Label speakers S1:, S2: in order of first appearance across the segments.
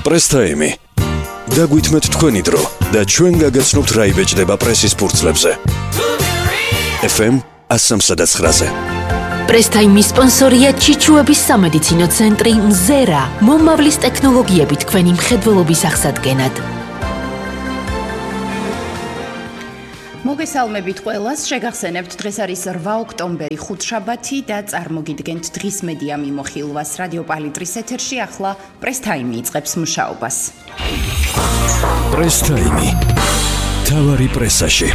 S1: პრესთაიმი. დაგვითმეთ თქვენი დრო და ჩვენ გაგაცნობთ რა იბეჭდება პრესის ფურცლებზე. FM 103-ზე.
S2: პრესთაიმის სპონსორია ჩიჩუების სამედიცინო ცენტრი მზერა, მომავლის ტექნოლოგიებით თქვენი მხედველობის აღსადგენად.
S3: მოგესალმებით ყველას, შეგახსენებთ დღეს არის 8 ოქტომბერი, ხუთშაბათი და წარმოგიდგენთ დღის მედია მიმოხილვას რადიო პალიტრის ეთერში. ახლა პრესთაიმი იწყებს მუშაობას.
S1: პრესთაიმი. თავარი პრესაში.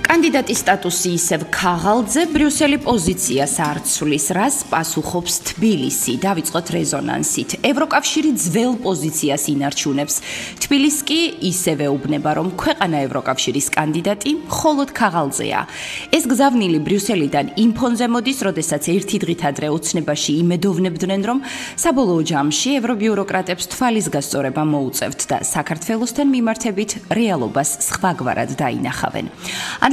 S3: კანდიდატის სტატუსი ისევ ქაღალდზე, ბრიუსელი პოზიციას არ ცვლის, რას პასუხობს თბილისი. დავიწყოთ რეზონანსით. ევროკავშირი ძველ პოზიციას ინარჩუნებს. თბილისი კი ისევე უბნება, რომ ქვეყანა ევროკავშირის კანდიდატი მხოლოდ ქაღალდზეა. ეს გზავნილი ბრიუსელიდან იმ ფონზე მოდის, როდესაც ერთი დღით ადრე ოცნებაში იმედოვნებდნენ, რომ საბოლოო ჯამში ევრობიუროკრატებს თვალის გასწორება მოუწევთ და საქართველოსთან მიმართებით რეალობას სხვაგვარად დაინახავენ.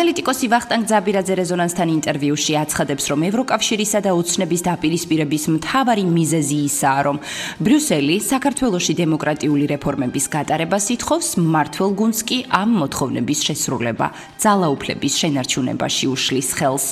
S3: ანალიტიკოსი ვახტანგ ძაბირაძე რეზონანსთან ინტერვიუში აცხადებს, რომ ევროკავშირისა და ოცნების დაპირისპირების მთავარი მიზეზი ისაა, რომ ბრიუსელი საქართველოში დემოკრატიული რეფორმების გატარებას ითხოვს, მმართველ გუნდს კი ამ მოთხოვნების შესრულება ძალაუფლების შენარჩუნებაში უშლის ხელს.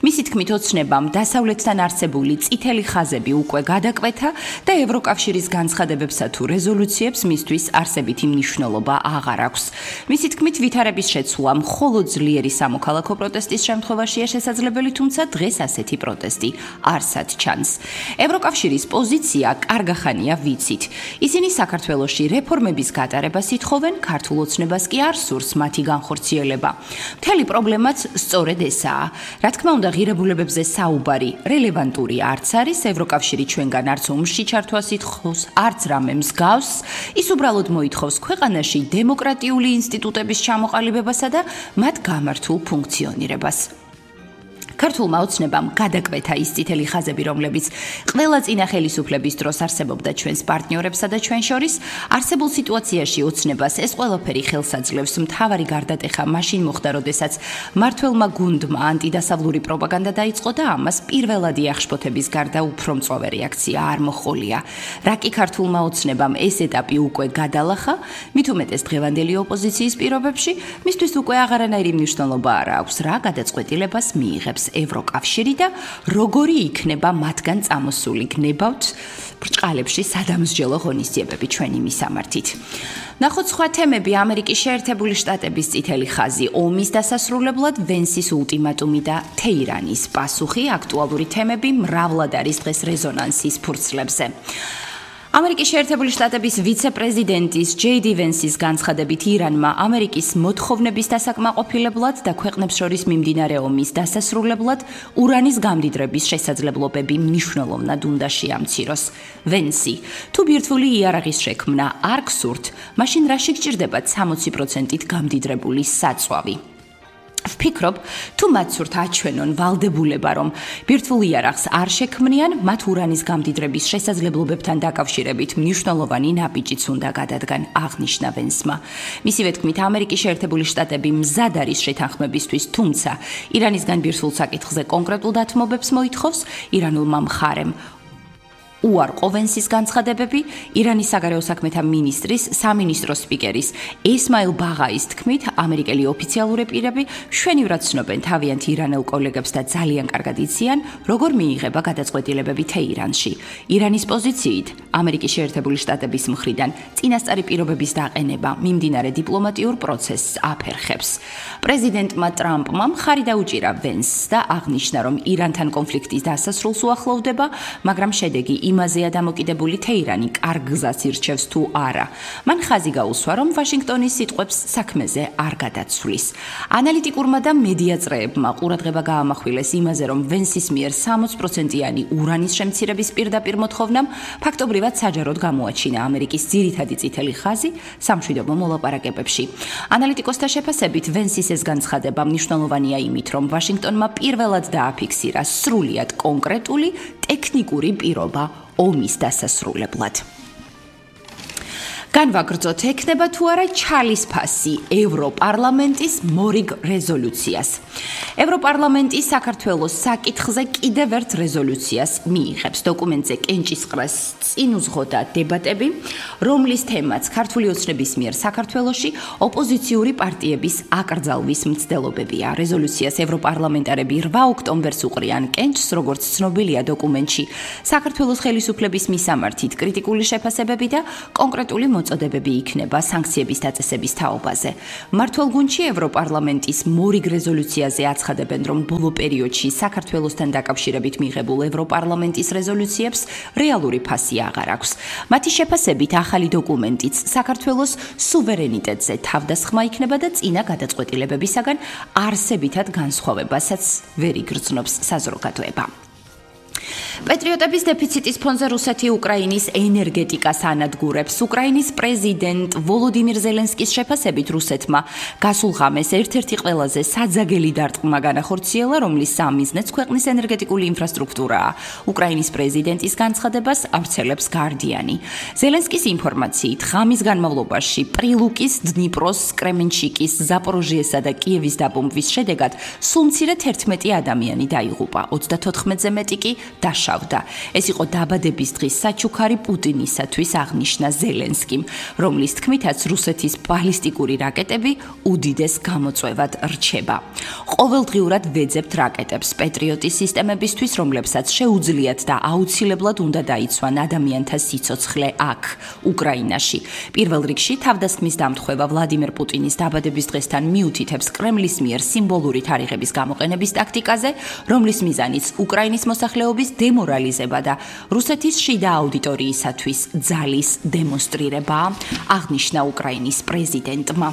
S3: მისი თქმით, ოცნებამ დასავლეთთან არსებული წითელი ხაზები უკვე გადაკვეთა და ევროკავშირის განცხადებებსა თუ რეზოლუციებს მისთვის არსებითი მნიშვნელობა აღარ აქვს. მისი თქმით, ვითარების შეცვლა მხოლოდ ძლიერი სამოქალაქო პროტესტის შემთხვევაშია შესაძლებელი, თუმცა დღეს ასეთი პროტესტი არსად ჩანს. ევროკავშირის პოზიცია კარგახანია ვიცით. ისინი საქართველოში რეფორმების გატარებას ითხოვენ, ქართულ ოცნებას კი არ სურს მათი განხორციელება. მთელი პრობლემაც სწორედ ესაა. რა თქმა უნდა, ღირებულებებზე საუბარი რელევანტური არც არის, ევროკავშირი ჩვენგან არც ომში ჩართვას ითხოვს, არც რამე მსგავს. ის უბრალოდ მოითხოვს ქვეყანაში დემოკრატიული ინსტიტუტების ჩამოყალიბებასა და მათ გამართულ ფუნქციონირებას. ქართულმა ოცნებამ გადაკვეთა ის წითელი ხაზები, რომლებიც ყველა წინა ხელისუფლების დროს არსებობდა ჩვენს პარტნიორებსა და ჩვენ შორის. არსებულ სიტუაციაში ოცნებას ეს ყველაფერი ხელს აძლევს. მთავარი გარდატეხა მაშინ მოხდა, როდესაც მმართველმა გუნდმა ანტიდასავლური პროპაგანდა დაიწყო და ამას პირველადი აღშფოთების გარდა უფრო მწვავე რეაქცია არ მოჰყოლია. რა კი ქართულმა ოცნებამ ეს ეტაპი უკვე გადალახა, მით უმეტეს დღევანდელი ოპოზიციის პირობებში, მისთვის უკვე აღარანაირი მნიშვნელობა არ აქვს, რა გადაწყვეტილებას მიიღებს ევროკავშირი და როგორი იქნება მათგან წამოსული. გნებავთ ბრჭყალებში სადამსჯელო ღონისძიებები ჩვენი მისამართით. ნახოთ სხვა თემები. ამერიკის შეერთებული შტატების წითელი ხაზი, ომის დასასრულებლად, ვენსის ულტიმატუმი და თეირანის პასუხი. აქტუალური თემები მრავლად არის დღეს რეზონანსის ფურცლებზე. ამერიკის შეერთებული შტატების ვიცე-პრეზიდენტის ჯეი-დი ვენსის განცხადებით, ირანმა ამერიკის მოთხოვნების დასაკმაყოფილებლად და ქვეყნებს შორის მიმდინარე ომის დასასრულებლად ურანის გამდიდრების შესაძლებლობები მნიშვნელოვნად უნდა შეამციროს. ვენსი: თუ ბირთვული იარაღის შექმნა არ გსურთ, მაშინ რაში გჭირდებათ 60%-ით გამდიდრებული საწვავი? ვფიქრობ, თუ მათ სურთ აჩვენონ ვალდებულება, რომ ბირთვულ იარაღს არ შექმნიან, მათ ურანის გამდიდრების შესაძლებლობებთან დაკავშირებით მნიშვნელოვანი ნაბიჯიც უნდა გადადგან, აღნიშნა ვენსმა. მისივე თქმით, ამერიკის შეერთებული შტატები მზად არის შეთანხმებისთვის, თუმცა ირანისგან ბირთვულ საკითხზე კონკრეტულ დათმობებს მოითხოვს. ირანულმა მხარემ უარყო ვენსის განცხადებები. ირანის საგარეო საქმეთა მინისტრის, სამინისტრო სპიკერის ესმაილ ბაღაის თქმით, ამერიკელი ოფიციალური პირები მშვენივრად ცნობენ თავიანთ ირანელ კოლეგებს და ძალიან კარგად იციან, როგორ მიიღება გადაწყვეტილებები თეირანში. ირანის პოზიციით, ამერიკის შეერთებული შტატების მხრიდან წინასწარი პირობების დაყენება მიმდინარე დიპლომატიურ პროცესს აფერხებს. პრეზიდენტმა ტრამპმა მხარი დაუჭირა ვენსს და აღნიშნა, რომ ირანთან კონფლიქტის დასასრულს უახლოვდება, მაგრამ შედეგი იმაზეა დამოკიდებული, თეირანი კარგ გზას ირჩევს თუ არა. მან ხაზი გაუსვა, რომ ვაშინგტონის სიტყვებს საქმეზე არ გადაცვლის. ანალიტიკურმა და მედია წრეებმა ყურადღება გაამახვილეს იმაზე, რომ ვენსის მიერ 60%-იანი ურანის შემცირების პირდაპირ მოთხოვნამ ფაქტობრივად საჯაროდ გამოაჩინა ამერიკის ძირითადი წითელი ხაზი სამშვიდობო მოლაპარაკებებში. ანალიტიკოსთა შეფასებით, ვენსის ეს განცხადება მნიშვნელოვანია იმით, რომ ვაშინგტონმა პირველად დააფიქსირა სრულიად კონკრეტული ტექნიკური პირობა ომის დასასრულებლად. განვაგრძოთ, ექნება თუ არა ჩალის ფასი ევროპარლამენტის მორიგ რეზოლუციას. ევროპარლამენტი საქართველოს საკითხზე კიდევ ერთ რეზოლუციას მიიღებს. დოკუმენტზე კენჭისყრას წინ უძღოდა დებატები, რომლის თემაც ქართული ოცნების მიერ საქართველოში ოპოზიციური პარტიების აკრძალვის მცდელობებია. რეზოლუციას ევროპარლამენტარები 8 ოქტომბერს უყრიან კენჭს, როგორც ცნობილია დოკუმენტში, საქართველოს ხელისუფლების მისამართით კრიტიკული შეფასებები და კონკრეტული მოწოდებები იქნება სანქციების დაწესების თაობაზე. მმართველ გუნდში ევროპარლამენტის მორიგ რეზოლუციაზე აცხადებენ, რომ ბოლო პერიოდში საქართველოსთან დაკავშირებით მიღებულ ევროპარლამენტის რეზოლუციებს რეალური ფასი აღარ აქვს. მათი შეფასებით ახალი დოკუმენტიც საქართველოს სუვერენიტეტზე თავდასხმა იქნება და წინა გადაწყვეტილებებისაგან არსებითად განსხვავებასაც ვერ იგრძნობს საზოგადოება. პატრიოტების დეფიციტის ფონზე რუსეთი უკრაინის ენერგეტიკას ანადგურებს. უკრაინის პრეზიდენტ ვოლოდიმირ ზელენსკის შეფასებით რუსეთმა გასულ ღამეს ერთ-ერთი ყველაზე საძაგელი დარტყმა განახორციელა, რომლის სამიზნეც ქვეყნის ენერგეტიკული ინფრასტრუქტურაა. უკრაინის პრეზიდენტის განცხადებას ავრცელებს გარდიანი. ზელენსკის ინფორმაციით, ღამის განმავლობაში პრილუკის, დნიპროს, კრემენჩიკის, ზაპოროჟიესა და კიევის დაბომბვის შედეგად სულ მცირე 11 ადამიანი დაიღუპა, 34-ზე მეტი კი დაშავდა. ეს იყო დაბადების დღის საჩუქარი პუტინისათვის, აღნიშნა ზელენსკიმ, რომლის თქმითაც რუსეთის ბალისტიკური რაკეტები უდიდეს გამოწვევად რჩება. ყოველდღიურად ვეძებთ რაკეტებს პეტრიოტის სისტემებისთვის, რომლებსაც შეუძლიათ და აუცილებლად უნდა დაიცვან ადამიანთა სიცოცხლე აქ, უკრაინაში. პირველ რიგში თავდასხმის დამტხვევა ვლადიმერ პუტინის დაბადების დღესთან მიუთითებს კრემლის მიერ სიმბოლური თარიღების გამოყენების ტაქტიკაზე, რომლის მიზანიც უკრაინის მოსახლეობის დემორალიზება და რუსეთის შიდა აუდიტორიისათვის ძალის დემონსტრირება, აღნიშნა უკრაინის პრეზიდენტმა.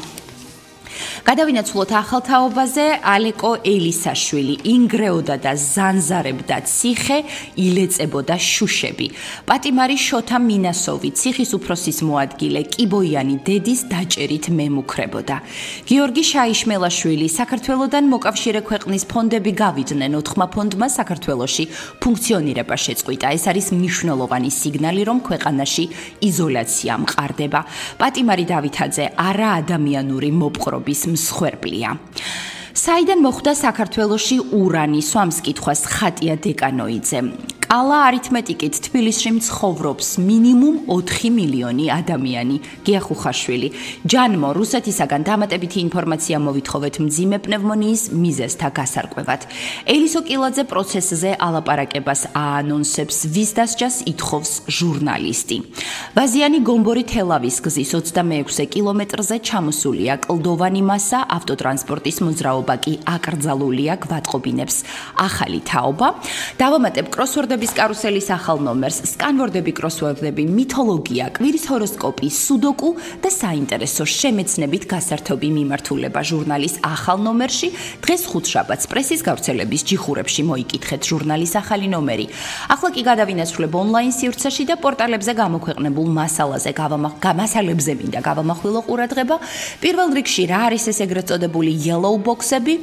S3: გადავინაცვლოთ ახალ თაობაზე. ალეკო ელისაშვილი ინგრეოდა და ზანზარებდა ციხე, ილეწებოდა შუშები. პატიმარი შოთა მინასოვი, ციხის უფროსის მოადგილე, კიბოიანი დედის დაჭერით მემუქრებოდა. გიორგი შაიშმელაშვილი, საქართველოდან მოკავშირე ქვეყნის ფონდები გავიდნენ, 4 ფონდმა საქართველოში ფუნქციონირება შეწყვიტა. ეს არის მნიშვნელოვანი სიგნალი, რომ ქვეყანაში იზოლაცია მყარდება. პატიმარი დავითაძე არაადამიანური მოპყრობის მსხვერპლია. საიდან მოხვდა საქართველოში ურანი, სვამს კითხვას ხატია დეკანოიძე. კალა არითმეტიკით თბილისში მცხოვრობს მინიმუმ 4 მილიონი ადამიანი. გიახუხაშვილი. ჯანმო, რუსეთისაგან დამატებითი ინფორმაცია მოვითხოვეთ მძიმე პნევმონიის მიზეზთა გასარკვევად. ელისო კილაძე პროცესზე ალაპარაკებას აანონსებს, ვის დასჯას ითხოვს ჟურნალისტი. ვაზიანი გომბორი თელავის გზის 26 კილომეტრზე ჩამოსულია კლდოვანი მასა, ავტოტრანსპორტის მოძრაობა კი აკრძალულია, გვატყობინებს ახალი თაობა. დავამატებ კროსვორდების კარუსელის ახალ ნომერს, სკანვორდები, კროსვორდები, მითოლოგია, კვირის ჰოროსკოპი, სუდოკუ და საინტერესო შემეცნებით გასართობი მიმართულება ჟურნალის ახალ ნომერში. დღეს ხუთშაბათს პრესის გავრცელების ჯიხურებში მოიკითხეთ ჟურნალის ახალი ნომერი. ახლა კი გადავინაცვლებ ონლაინ სივრცეში და პორტალებზე გამოქვეყნებულ მასალებზე მინდა გავამახვილო ყურადღება. პირველ რიგში რა არის ეს ეგრეთ წოდებული yellow box-ები,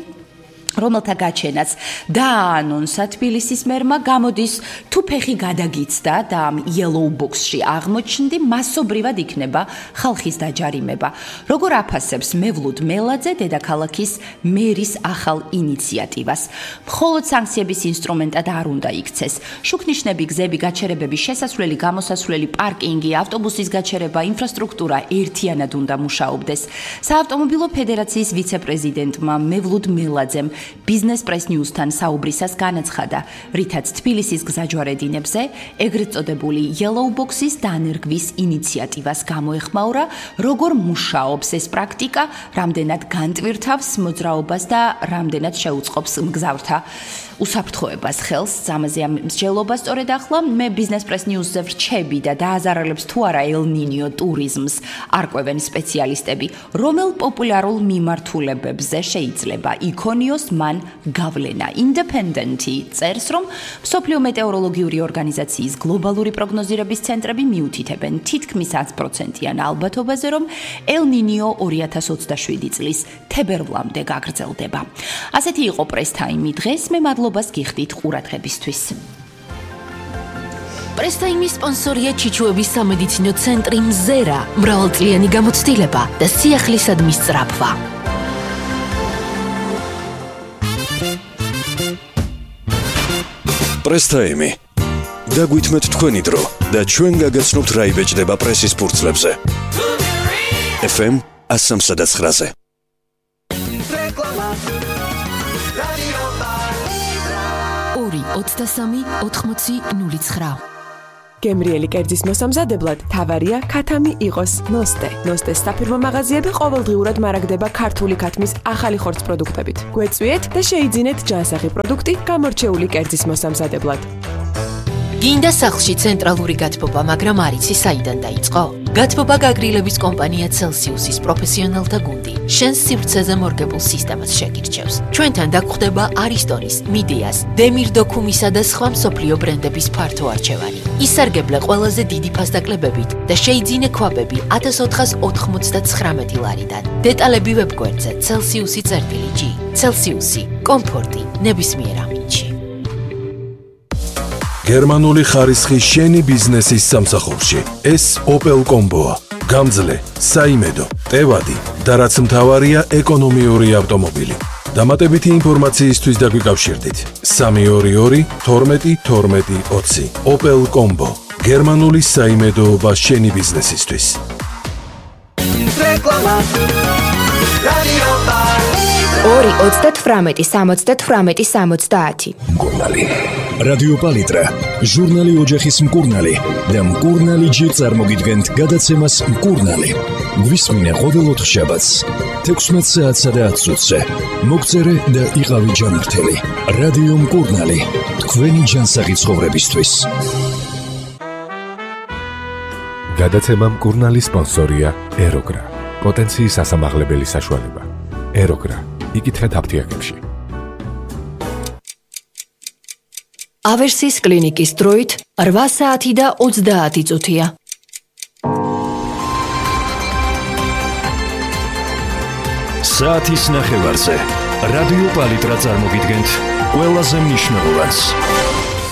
S3: რომელთა გაჩენაც დააანონსა თბილისის მერმა, გამოდის თუ ფეხი გადაგიცდა და yellow box-ში აღმოჩნდი, მასობრივად იქნება ხალხის დაჯარიმება. როგორ აფასებს მევლუდ მელაძე დედაქალაქის მერის ახალ ინიციატივას? მხოლოდ სანქციების ინსტრუმენტად არ უნდა იქცეს. შუქნიშნები, გზები, გაჩერებები, შესასვლელი, გამოსასვლელი, პარკინგი, ავტობუსის გაჩერება, ინფრასტრუქტურა ერთიანად უნდა მუშაობდეს. საავტომობილო ფედერაციის ვიცე-პრეზიდენტმა მევლუდ მელაძემ ბიზნეს პრეს ნიუსთან საუბრისას განაცხადა, რითაც თბილისის გზაჯვარედინებზე ეგრეთ წოდებული yellow box-ის დანერგვის ინიციატივას გამოეხმაურა, როგორ მუშაობს ეს პრაქტიკა, რამდენად განტვირთავს მოძრაობას და რამდენად შეუწყობს მგზავრთა უსაფრთხოებას ხელს. ამაზე მსჯელობა სწორედ ახლა მე ბიზნეს პრეს ნიუსზე ვრჩები და დააზარალებს თუ არა ელ ნინიო ტურიზმს არკვევენ სპეციალისტები, რომელ პოპულარულ მიმართულებებზე შეიძლება იქონიოს მან გავლენა. ინდეპენდენტი წერს, რომ მსოფლიო მეტეოროლოგიური ორგანიზაციის გლობალური პროგნოზირების ცენტრები მიუთითებენ თითქმის 100%-იან ალბათობაზე, რომ ელ ნინიო 2027 წლის თებერვლამდე გაგრძელდება. ასეთი იყო პრეს ტაიმი დღეს. მე მადლობას გიხდით ყურადღებისთვის.
S2: პრესტაიმის სპონსორია ჩიჩუების სამედიცინო ცენტრი მზერა, მრავალწლიანი გამოცდილება და სიახლისადმი სწრაფვა.
S1: პრესტაიმი. დაგვითმეთ თქვენი დრო და ჩვენ გაგაცნობთ რა იბეჭდება პრესის ფურცლებზე. FM 103-ზე.
S2: ორი 23 80 09.
S4: გემრიელი კერძის მოსამზადებლად თავარია ქათამი იყოს ნოსტე. ნოსტეს საფირმო მაღაზიები ყოველდღიურად მარაგდება ქართული ქათმის ახალი ხორცს პროდუქტებით. გვეწვიეთ და შეიძინეთ ჯანსაღი პროდუქტი გამორჩეული კერძის მოსამზადებლად.
S2: გინდა სახლში ცენტრალური გათბობა, მაგრამ არ იცი საიდან დაიწყო? გათბობა გაგრილების კომპანია Celsius-ის პროფესიონალთა გუნდი. შენს სივრცეზე მორგებულ სისტემას შეგირჩევს. ჩვენთან დაგხვდება არისტონის, მიდიას, დემირ დოქუმისა და სხვა მსოფლიო ბრენდების ფართო არჩევანი. ისარგებლე ყველაზე დიდი ფასდაკლებებით და შეიძინე ქვაბები 1499 ლარიდან. დეტალები ვებგვერდზე Celsius-G. Celsius-ი, კომფორტი ნებისმიერ ამინდში.
S5: გერმანული ხარისხი შენი ბიზნესის სამსახურში. ეს Opel Combo-ა. გამძლე, საიმედო, ტევადი და რაც მთავარია ეკონომიური ავტომობილი. დამატებითი ინფორმაციისთვის დაგვიკავშირდით 322 12 12 20. Opel Combo. გერმანული საიმედოობა შენი ბიზნესისთვის.
S6: რეკლამა. რადიო ბარ.
S7: 2-38-70-70.
S1: მკურნალი. რადიო პალიტრა, ჟურნალი ოჯახის მკურნალი და მკურნალი ჯერ წარმოგიდგენთ გადაცემას მკურნალი. გვისმინე ყოველ ოთხშაბათს 16 საათსა და 10 წუთზე. მოგწერე და იყავი ჯანმრთელი. რადიო მკურნალი, თქვენი ჯანსაღი ცხოვრებისთვის.
S8: გადაცემა მკურნალი სპონსორია ეროგრა. პოტენციის ასამაღლებელი საშუალება. ეროგრა. იკითხეთ აფთიაქებში.
S2: ავერსის კლინიკის დროით 8 საათი და 30 წუთია.
S1: საათის ნახევარზე რადიო პალიტრა წარმოგიდგენთ ყველაზე მნიშვნელოვანს.